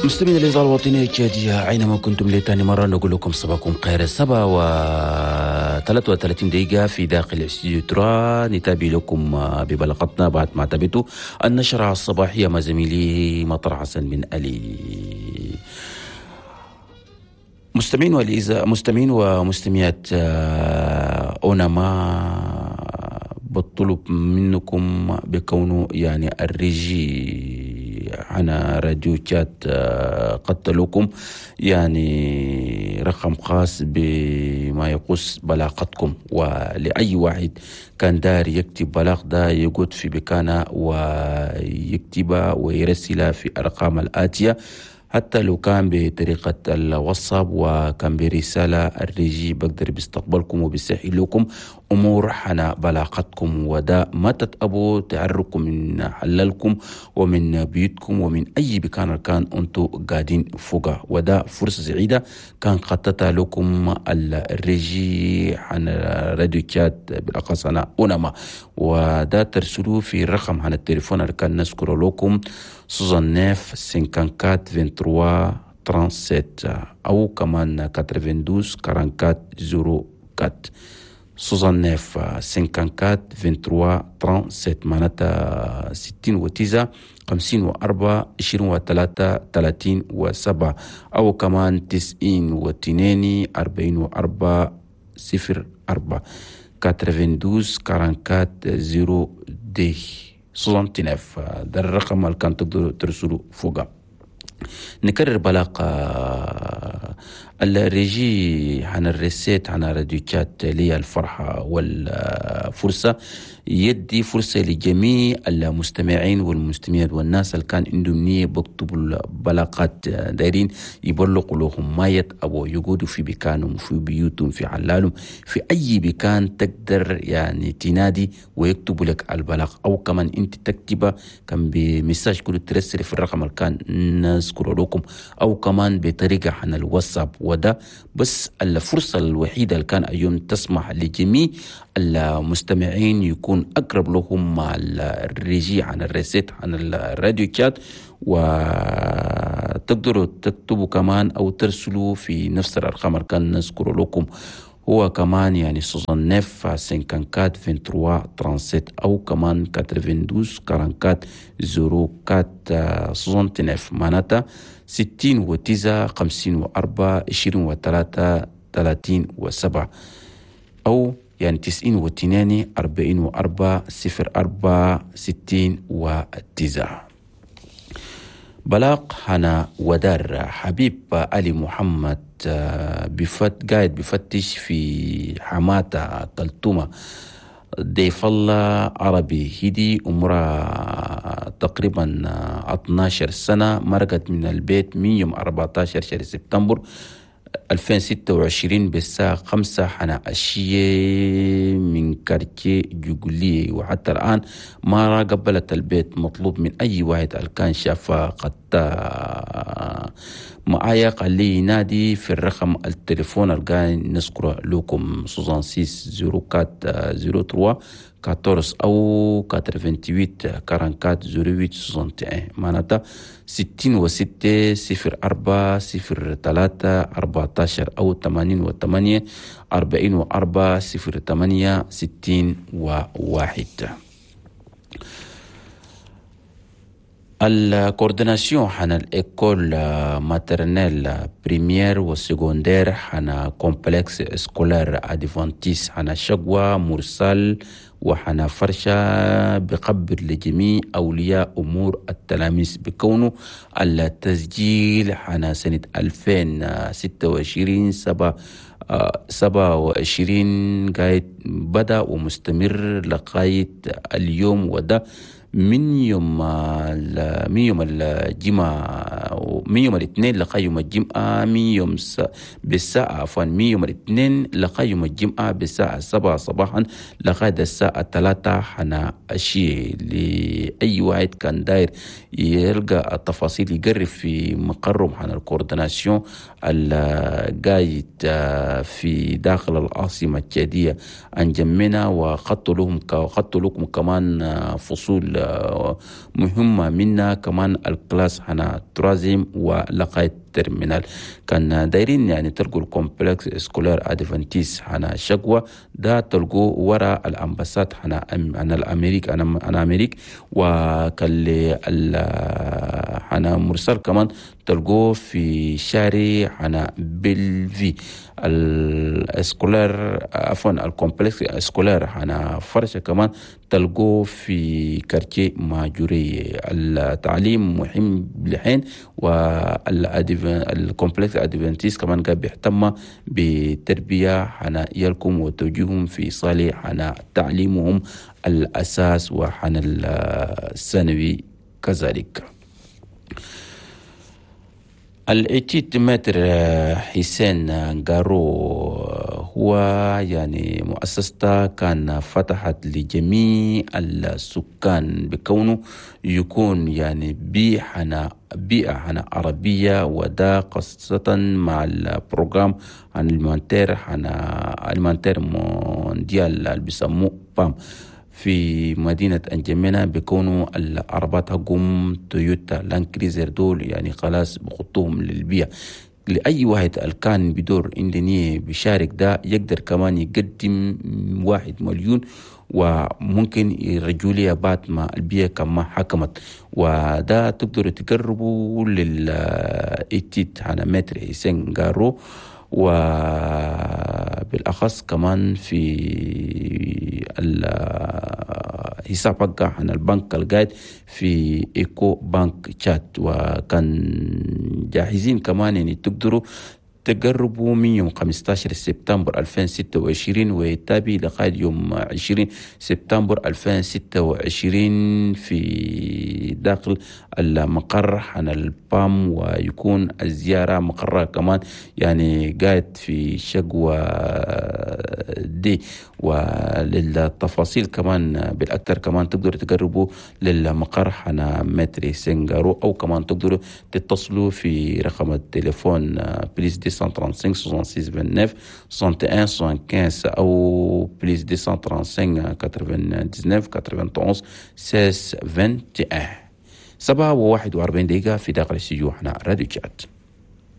مستمعين الإذاعة الوطنية التشادية أينما كنتم، لتاني مرة نقول لكم صباحكم خير. 7:33 في داخل استوديو trois. نتابع لكم ببلاغتنا بعد ما تابعتوا النشرة الصباحية مع زميلي مطر حسن بن علي. مستمعين مستمعين ومستمعات أونما، بطلب منكم بكونه يعني ال régie على راديو تشاد قتلوكم يعني رقم خاص بما يخص بلاغتكم، ولأي واحد كان دار يكتب بلاغ ده يقعد في بكانه ويكتبها ويرسلها في أرقام الآتية، حتى لو كان بطريقة الواتساب وكان برسالة، ال régie بقدر بيستقبلكم وبيسهل لكم أمور حنا بلاغتكم. وده ما تتأبوا تعركم من حللكم ومن بيوتكم ومن أي مكان كان أنتو قاعدين فوقه، وده فرصة سعيدة كان خطتها لكم ال régie عن راديو تشاد بالأخص أنا أونما. وده ترسلوه في الرقم عن التليفون اللي كان نذكره لكم 69 54 23 37 أو كمان 92 44 04. 69 54 23 37، معناتها 69 54 23 37، أو كمان 92 44 04، 92 44 02 69. ده الرقم اللي كان تقدروا ترسلوا فوقه. نكرر بلاغ ال régie عن ال recette عن راديو تشاد لي الفرحة والفرصة يدي فرصة لجميع المستمعين والمستمعات والناس اللي كان عندهم نية بكتبوا البلاغات دايرين يبلغوا لهم، ما يتأبوا، يقعدوا في بكانهم، في بيوتهم، في حلالهم، في أي بكان تقدر يعني تنادي ويكتبوا لك البلاغ، أو كمان أنت تكتبه كان ب message كله ترسل في الرقم اللي كان نذكره لكم، أو كمان بطريقة عن الواتساب. وده بس الفرصة الوحيدة اللي كان اليوم تسمح لجميع المستمعين يكون أقرب لهم مع ال régie عن ال recette عن الراديو تشاد، وتقدروا تكتبوا كمان أو ترسلوا في نفس الأرقام اللي كان نذكره لكم، هو كمان يعني 69 54 23 37 أو كمان 92 44 04 69، معناتها 69 54 23 37، أو يعني 92 44 04 69. بلاغ هنا ودار حبيب علي محمد بفت قاعد بفتش في حماتة كلتومة ضيف الله عربي هدي، عمرها تقريبا 12 سنة، مرقت من البيت من يوم 14 شهر سبتمبر 2026 بالساعة 5 حنا عشية من quartier جوجلي، وحتى الآن ما قبلت البيت. مطلوب من أي واحد كان شافها قد معايا قال لي ينادي في الرقم التليفون اللي نذكره لكم 66 04 03 14 أو 88 44 08 61، معناتها 66 04 03 14 أو 88 44 08 61. ال coordination حنا ال école maternelle، primaire و secondaire حنا complexe scolaire adventiste حنا شقوة مرسال وحنا فرشة بقبر لجميع أولياء أمور التلاميذ بكونه التسجيل حنا سنة 2026 27 قايد بدأ ومستمر لغاية اليوم، وده من يوم الجمعة، من يوم الاثنين لغاية يوم الجمعة، من يوم بالساعة عفوا من يوم الاثنين لغاية يوم الجمعة بالساعة 7 صباحا لغاية الساعة 3 حنا أشي. لأي واحد كان داير يلقى التفاصيل يقرب في مقرهم حنا ال coordination القايد في داخل العاصمة التشادية أنجمنا، وخطوا لهم خطوا لكم كمان فصول مهمة منا كمان ال classe هنا troisième التعليم ولغاية terminale. كان دايرين يعني تلقوا ال complexe scolaire adventiste هنا شقوة ده تلقوا ورا ال ambassade هنا هنا الامريك انا امريك. وكان هنا مرسل كمان تلقوه في شارع هنا بلفي ال scolaire عفوا ال complexe scolaire هنا فرشة كمان تلقوه في quartier ماجوري. التعليم مهم لحين، وال complexe adventiste كمان قاعد بيهتم بتربية هنا يلكم وتوجيههم في صالح هنا تعليمهم الأساس وحنا الثانوي كذلك. الاتيت maître حسين غارو هو يعني مؤسسته كان فتحت لجميع السكان بكونه يكون يعني بيئة هنا عربية، وده خاصة مع ال programme alimentaire هنا alimentaire mondial اللي بيسموه PAM في مدينة أنجمينا، بيكونوا العربات حقهم تويوتا لاند كريزر دول يعني خلاص بخطوهم للبيع. لأي واحد الكان بدور عندني بيشارك ده يقدر كمان يقدم 1 مليون وممكن يرجوا لي بعد ما البيئة كما حكمت. وده تقدروا تقربوا للإتيت هنا maître حسين غارو، وبالأخص كمان في الحساب حقه عن البنك القاعد في إيكو بانك تشات. وكان جاهزين كمان يعني تقدروا تقربوا من يوم 15 سبتمبر 2026 ويتابع لغاية يوم 20 سبتمبر 2026 في داخل المقر عن ال PAM، ويكون الزيارة مقرها كمان يعني قاعد في شقوة دي. وللتفاصيل كمان بالأكثر كمان تقدروا تقربوا للمقر حنا maître سنغارو، أو كمان تقدروا تتصلوا في رقم التليفون plus 235 66 29 61 75 أو plus 235 99 91 16 21. 7:41 في داخل الاستوديو هنا راديو تشات.